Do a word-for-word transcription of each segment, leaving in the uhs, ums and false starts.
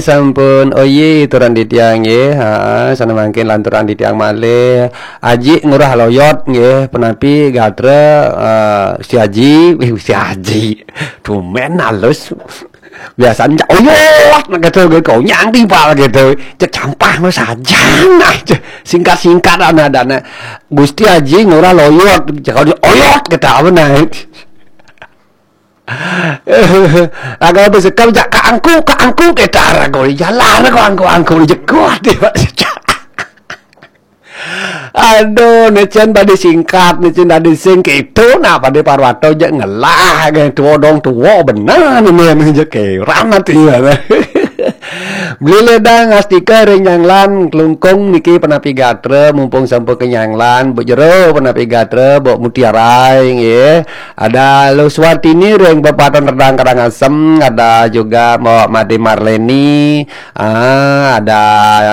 Sampun, oh iya, turun di tiang nggih. Ha, sana mangkin lanturan di tiang malih. Aji ngurah loyot nggih, penapi gatra, eh, si Aji, eh, si Aji. Tumen halus. Biasanya cak oyot, nak gitu, gitu. Nyang timpal gitu. Cek campah mah saja, nah, cek singkat-singkat anak dana. Gusti Aji ngurah loyot, cek oyot kita apa nah. Raga besekam cak kaangku, kaangku kita raga jalan, kaangku, angku jekuat dia. Aduh, necen pada singkat, necen pada sing gitu, nah pada Parwato je ngelah, ge tuo dong tuo benar ni, ni je keran hati. Beli ledang astika ring nyanglan kelungkung niki penapi gatra, mumpung sampun ke nyanglan, Bu Jero penapi gatra, Bu Mutiara nggih. Ada Lu Suartini ring Pepaton Redang Karangasem, ada juga Mbak Made Marleni, ah, ada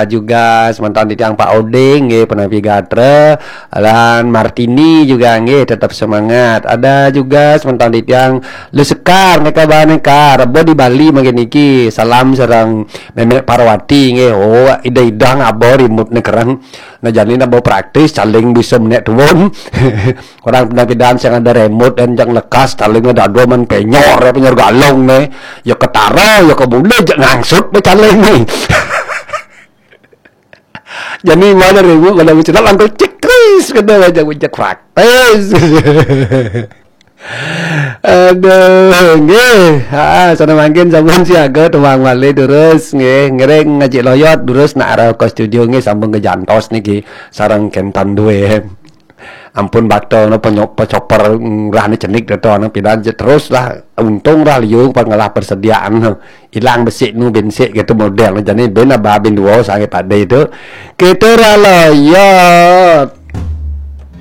juga semeton di tiang Pak Oding nggih, penapi gatra, lan Martini juga nggih, tetap semangat. Ada juga semeton di tiang Lu Sekar, neka bahan neka, rebo di Bali mangkin niki. Salam sareng Memek Parwati nggih. Oh, ida-ida ngaba remote ne kereng. Nah, jani nambah praktis, caling bisa menek tuun. Orang pernah pidan sing ada remote dan jang lekas, caling ada dua man penyor, ya, penyor galong ne. Ya ketara, ya kebule, jak ngangsut be caling ne. Jani mana remote, mana bicara langkul cek tris, kena aja bijak praktis. Aduh, nggih. Ha, sana mangkin sampun siaga tuang malih terus nggih. Ngiring ngajik loyot terus nak arah ke studio nggih, sambung ke jantos niki sareng kentan duwe. Ampun bakto no penyo-, pecoper, mm, lah ni cenik to no pidan je terus lah, untung lah liu pengelah persediaan. Ilang besik nu bensik gitu model. Jani ben aba ben dua sange pade tu. Kita rala ya.